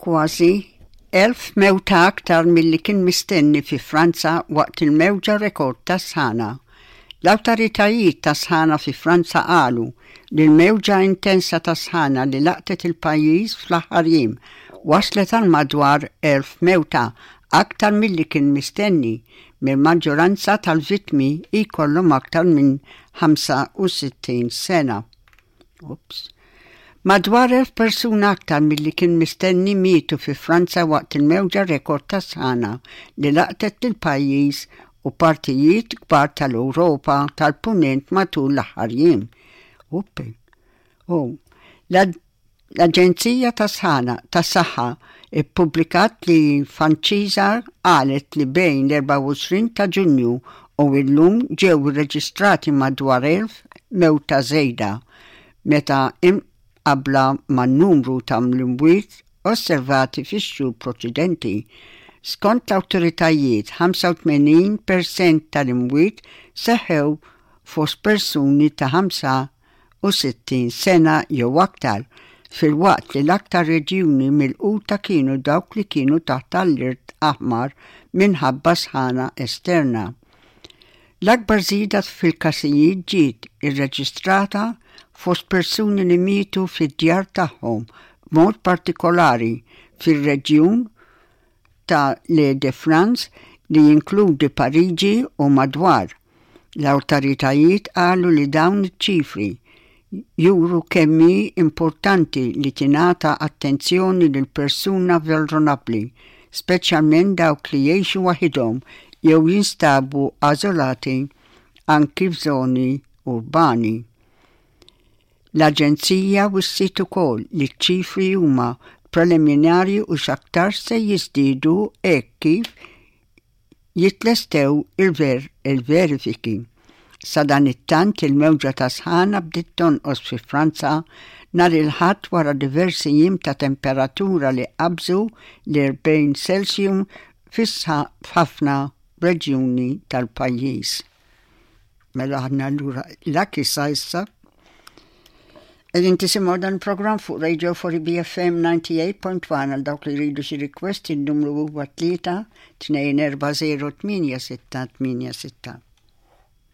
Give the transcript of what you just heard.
Kważi 1,000 mewta aktar milli kien mistenni fi Franza waqt il-mewġa rekord ta' sħana. L-awtoritajiet ta' sħana fi Franza qalu li l-mewġa intensa ta' sħana li laqtet il-pajjiż fl-aħħar jiem waslet għal madwar 1,000 mewta aktar milli kien mistenni, mill-maġġoranza tal-vittmi jkollhom aktar minn 65 sena. Ups. Madwar 1,000 persuna aktar milli kien mistenni mietu fi Franza waqt il-mewġa rekord ta' sħana li laqtet lill-pajjiż u partijiet kbar tal-Ewropa tal-Punent matul l-aħħar jiem. Uppi. Oh. L-Aġenzija tas-Sħana tas-Saħħa ppubblikat li Fanċiża qalet li bejn l-24 ta' Ġunju u llum ġew irreġistrati madwar 1,000 mewta żejda meta imqabbla man-numru ta' mlimwiet osservati fix-xhur proċedenti. Skont l-awtoritajiet, 85 persent tal-imwiet seħħew fost persuni ta' 65 sena jew aktar, filwaqt li l-aktar reġjuni milquta kienu dawk li kienu taħt allert aħmar minħabba sħana esterna. L-akbar żieda fil-każijiet ġiet irreġistrata fost persuni li mietu fid-djar tagħhom, b'mod partikolari fir-reġjun ta' l'Île-de-France li jinkludi Pariġi u madwar. L-awtoritajiet qalu li dawn iċ-ċifri juru kemm hi importanti li tingħata attenzjoni lil persuna vulnerabbli, speċjalment dawk li jgħixu waħidhom jew jinstabu ażolati anki f'żoni urbani. L-aġenzija wissiet ukoll li ċ-ċifri huma preliminari u x'aktarx se jiżdiedu hekk kif jitlestew il-verifiki. Sadanittant il-mewġa ta' sħana bdiet tonqos fi Franza nhar il-Ħadd wara diversi jiem ta' temperatura li qabżu l-40 Celsius f'ħafna reġjuni tal-pajjiż. Mela aħna allura l-akki sa issa. Qegħdin tisimgħu dan il-programm fuq Radio 4 BFM 98.1 għal dawk li jridu xi request in-numru huwa 3 240 8686.